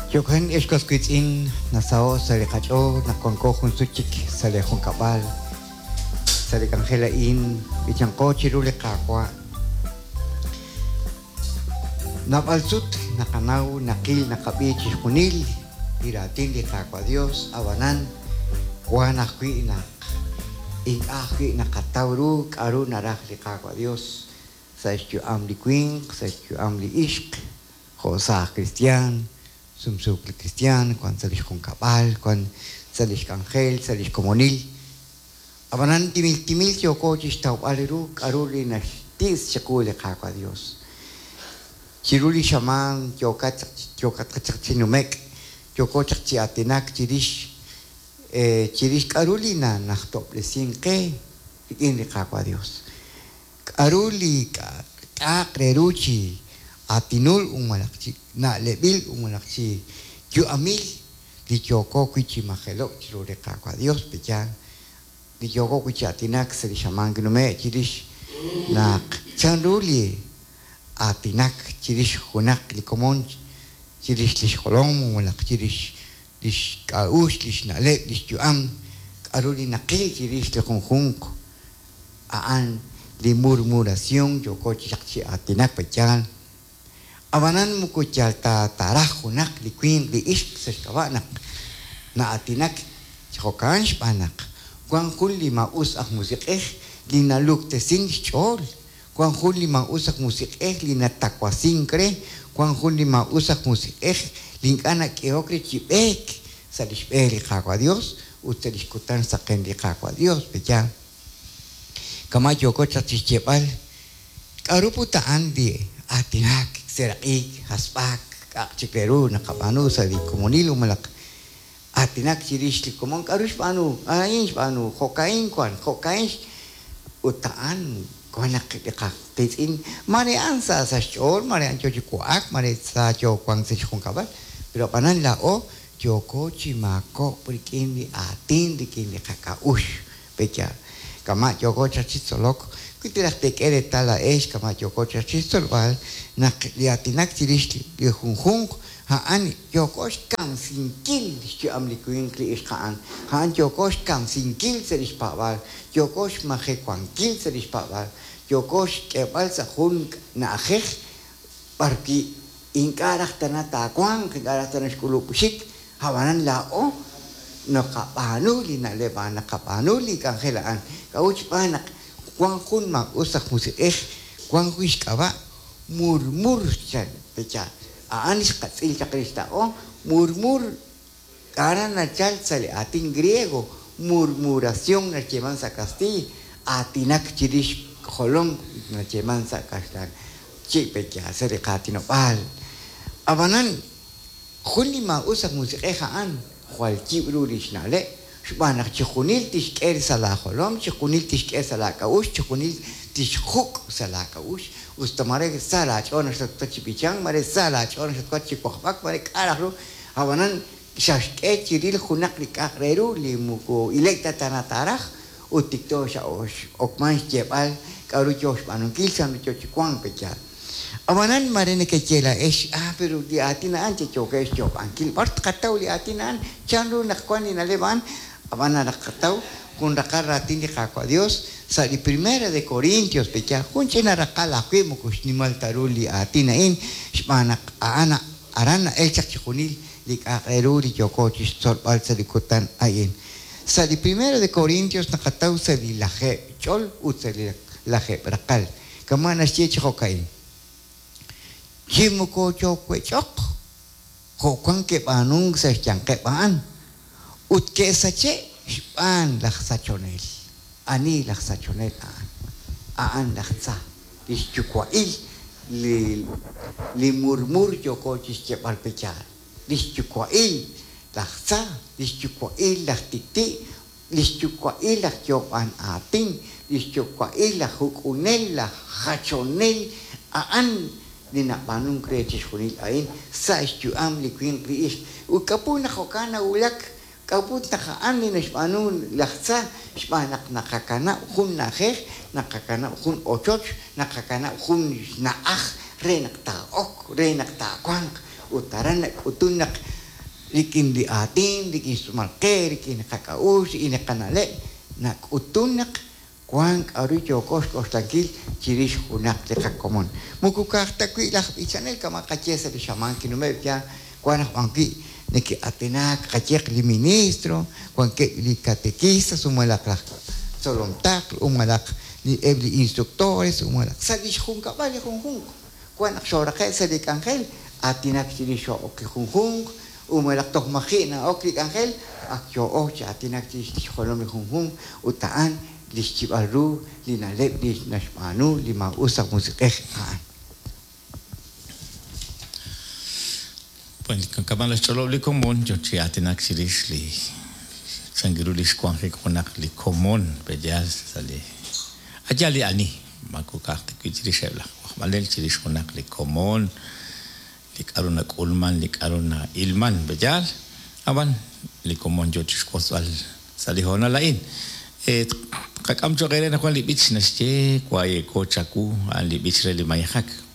Jo'kan, ex was wiitz'in, nasaho' sa' li qach'ool naq wanko jun sut chik sa' li junkab'al, sa' li k'anjel a'in, b'ichanqo chiru li Qaawa'. Naab'al sut naqanaw, naqil, naqab'i chixjunil li raatin li Qaawa' Dios, a'b'anan wan ajwi' naq ink'a' ajwi' naqataw ru k'a'ru naraj li Qaawa' Dios sa' xyu'am li winq, sa' xyu'am li ixq, jo' saaj kristiaan, sumsuuk li kristiaan, wan sa' lix junkab'al, wan sa' lix k'anjel, sa' lix komonil. Ab'anan timil timil yooko chixtawb'al ru k'a'ru li naxti's chiqu li Qaawa' Dios. Chiru li xamaan yookat yookatq chaq chi nume'k, yooko chaq chi aatinak chirix chirix k'a'ru li nanajtob'resink qe rik'in li Qaawa' Dios. K'a'ru li k'a'aq re ru chi aatinul malaj chi na'leb'il malaj chi yu'amil li yooko wi' chi majelo'k chiru li Qaawa' Dios? Pe'yaal li yooko wi' chi aatinak sa' li xamaan kinume' chirix naq chanru li aatinak chirix junaq li komon chirix lix jolom malaj chirix lix k'a'uxl, lix na'leb', lix yu'am, k'a'ru li naqil chirix li junjunq a'an li murmuración yooko chaq chi aatinak pe'yaal. Ab'anan moko yal ta taaraj junaq li winq li ixq sa' xk'ab'a' naq na'aatinak chi jo'kan xb'aan naq wan jun li maa'us aj musiq'ej li naluktesin xch'ool, wan jun li maa'us aj musiq'ej li natawasink re, wan jun li maa'us aj musiq'ej li ink'a' nak'ehok re chi b'eek sa' lix b'e li Qaawa' Dios ut sa' lix kutan saqen li Qaawa' Dios, pe'yaal? Kama' yooko chaq chi xyeeb'al, k'a'ru put a'an li aatinak, seeraq'ik, hasb'ak, k'a'aq chik re ru naqab'aanu sa' li komonil malaj aatinak chirix li komon, k'a'ru xb'aanu, a'in xb'aanu, jo'ka'in wan, jo'ka'in ut a'an wan naq li qaqiitz'in mare a'an sa sa' xch'ool, mare a'an yo chi wa'ak, mare sa yo wank sa' xjunkab'al, pero ab'anan laa'o yooko chi maakob'k rik'in li aatin, rik'in li qak'a'uxl. Pe'yaal? Kama' yooko chaq chi tzolok, wi traj teek'e reetal laa'ex kama' yooko chaq chi xtzolb'al naq li aatinak chirix li junjunq a'an yooko xkamsinkil xyu'am li winq li ixq a'an, a'an yooko xkamsinkil sa' li xpaab'aal, yooko xmajewankil sa' li xpaab'aal, yooko xk'eeb'al sa' jun na'ajej b'arwi' ink'a' raj tana taawanq, ink'a' raj tana xk'ulub' xik, ab'anan laa'o naqab'aanu li na'leb' a'an, naqab'aanu li k'anjel a'an. K'a'ut? Xb'aan naq wan jun maa'us aj musiq'ej, wan jun xk'ab'a' murmur chan pe'yaal. A'an xqatz'il chaq rix laa'o, murmur aran nachalk sa' li aatin griego, murmuración nayeeman sa' kastiiy, aatinak chirix jolom nayeeman sa' kaxlan. Chi pe'yaal sa' li qaatinob'aal. Ab'anan jun li maa'us aj musiq'ej a'an jwal yib' ru li xna'leb', xb'aan naq chixjunil tixk'e sa' laajolom, chixjunil tixk'e sa' laak'a'uxl, chixjunil tixjuk' sa' laak'a'uxl, usta mare sa laach'ool naq xatwank chi b'ichank, mare sa laach'ool naq xatwank chi wajb'ak, mare k'a' raj ru, ab'anan xaxk'e chiril junaq li k'a'aq re ru li moko ilek ta tana taaraj ut tikto x'okman xyeeb'al k'a'ru yo xb'aanunkil, chanru yo chi wank pe'yaal. Ab'anan mare nekeye laa'ex, ah, pero li aatin a'an yookeb' xyoob'ankil, b'ar tqataw li aatin a'an, chanru naq wank li na'leb' a'an? Ab'an naqataw jun raqal raatin li Qaawa' Dios sa' li Primera de Corintios, pe'yaal jun ch'ina raqal ajwi' moko xnimal ta ru li aatin a'in, xb'aan naq a'an aran na'elk chaq chixjunil li k'a'aq re ru li yooko chi xtzolb'al sa' li kutan a'in. Sa' li Primera de Corintios naqataw sa' li lajeeb' ch'ol ut sa' li lajeeb' raqal. Kama' naxye chi jo'ka'in, Chi moko choowech'oq jo' wank ke'b'aanunk sa' xyanqeb' a'an, ut ke'sache' xb'aan laj sachonel. Ani laj sachonel a'an? A'an laj tza, li xyuwa'il li murmur yooko chi xyeeb'al pe'yaal. Li xyuwa'il laj tza, li xyuwa'il laj tik'ti', li xyuwa'il laj yoob'an aatin, li xyuwa'il laj juk'unel, laj jachonel, a'an li nab'aanunk re chixjunil a'in sa' xyu'am li winq li ixq. Ut k'a'ut naq jo'kan nawulak? K'a'ut naq a'an li naxb'aanu laj tza? Xb'aan naq naqakanab' jun na'ajej, naqakanab' jun ochoch, naqakanab' jun xna'aj re naq taa'ok, re naq taawanq. Ut aran nak'utun naq rik'in li aatin, rik'in xtz'uumal qe, rik'in li qak'a'uxl, rik'in li qana'leb', nak'utun naq wank k'a'ru yooko xk'oxlankil chirix junaq li qakomon. Moko ka'aj ta wi' laj b'ichanel kama' qaye sa' li xamaan kinume'k ya wank aj b'an wi' neke'aatinaak qayeq li ministro, wankeb' li catequistas u malaq laj tzolom taql u malaq eb' li instructores u malaq sa' li xjunkab'al li junjunq. Wank naq xooraqe'k sa' li k'anjel, aatinak chirix xo'ok li junjunq u malaq toj maji' na'ok li k'anjel, ak yoo'o chi aatinak chirix li xjolom li junjunq ut a'an li xyib'al ru li na'leb' li naxb'aanu li maa'us aj musiq'ej a'an. Bueno, kama' naxch'olob' li komon yo chi aatinak chirix li chan ru li xwanjik junaq li komon pe'yaal sa' li a' yaal li ani, moko ka'aj ta wi' chirixeb' laj wajb'anel, chirix junaq li komon, li k'a'ru nak'ulman, li k'a'ru na'ilman, pe'yaal? Ab'an li komon yo chixwotzb'al sa' li hoonal a'in. Tqak'am cho'q eere anaqwan li b'ich naxye Waye'ko chawu, a'an li b'ich re li mayejak.